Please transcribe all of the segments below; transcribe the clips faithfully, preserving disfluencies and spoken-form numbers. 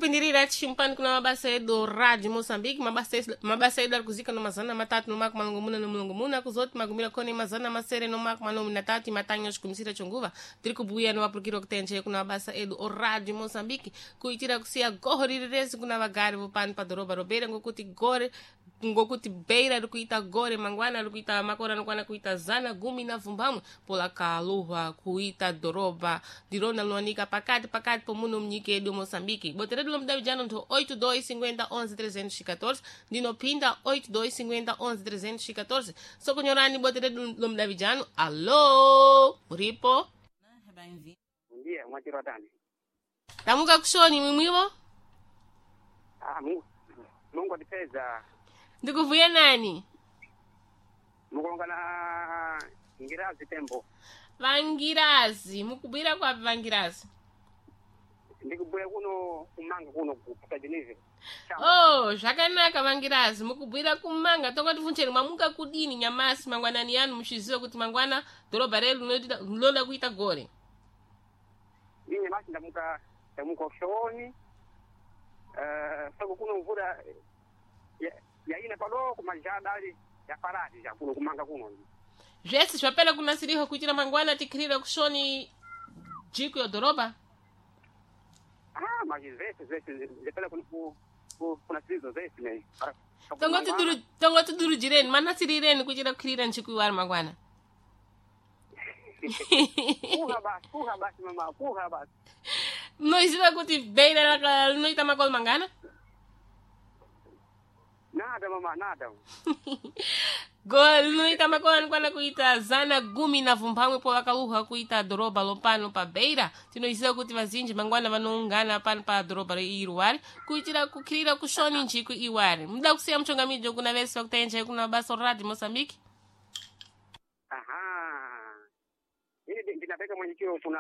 Kupindirira chimpani kuna mabasa edu Rádio Moçambique, mabasa edu, mabasa edu ari kuzika no mazana matatu no mako malongomuna no mulongomuna kuzoti magumira kone mazana masere no mako manomi na tatu imatanha oshikumitsira chonguva tiri kubuya no apurukiro kutenje kuna mabasa edu o Rádio Moçambique kuitira kusiya goho riri rese kuna vagari vopano padhorobha robeira ngokuti gore ngokuti beira ri kuita gore mangwana ri kuita makore anokwana kuita zana gumi na vumbamwe polakaluhwa kuita dhorobha ndirona linowanika pakati pakati pomuno munyika yedu moçambique bote redu lomudavijano ntho oito dois cinquenta onze trezentos e catorze ndinopinda oito dois cinquenta onze trezentos e catorze sokonyorani bote redu lomudavijano alo muripo Ndiye mwachiro tani. tamuka kushoni mwimwivo Ah, Mungu Mungu atipeza ndikuvuya nani mukulonga na ngirazi tembo vangirazi mukubwira kwapi vangirazi ndikubuya kuno kumanga kuno kupa Geneve. Oh, zvakanaka vangirazi mukubwira kumanga tonga tifuncheni mwamuka kudini nyamasi mangwanani yanu muchiziva kuti mangwana dhorobha redu rinoita- rinoda kuita gore Inye basi ndamuka ndamuka ushoni. Eh, soko kuno mvura ya yaina padoko majada ali ya faradi ya kuno kumanga kuno. zvese zvapera kunasirihwa kuitira mangwana tikhirire kushoni jiko yo dhorobha Ah, maji zese zese zepela kuno ku ku- kuna sizo zese ne. Tonga tonga tidurujireni manasirireni kuitira kukhirira njiku iwari mangwana Kuha basi, kuha basi mama, kuha basi. munoziva kuti beira raka- rinoita makore mangana Nada mama, nada. Gore rinoita makore anokwana kuita zana gumi na vumbamwe po vakaluhwa kuita dhorobha lopano pa beira tinoziva kuti vazinji mangwana vanoungana pano pa dhorobha iruwari kuitira kukhirira kushoni njiku iwari muda kusiya muchongamidzo kuna vese vakutaenjai kuna basa radio moçambique Aha. Ili ndinapeka mwenyekiro kuna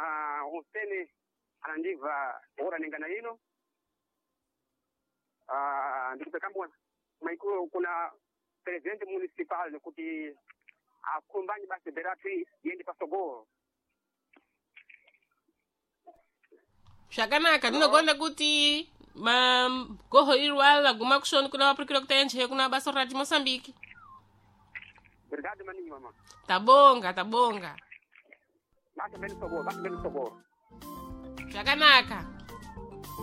Hussein anandiva ora nengana ino. Ah, ndikupeka maikuro kuna president municipal kuti akumbanye basi beratu yende pasogoro. zvakanaka ndinogonda kuti ma- goho iruwari raguma kushoni kuna vapurikira kutaenjai kuna basa radio moçambique Obrigado maningi mama. tabonga tabonga Basi beni sogoro, basi beni sogoro. zvakanaka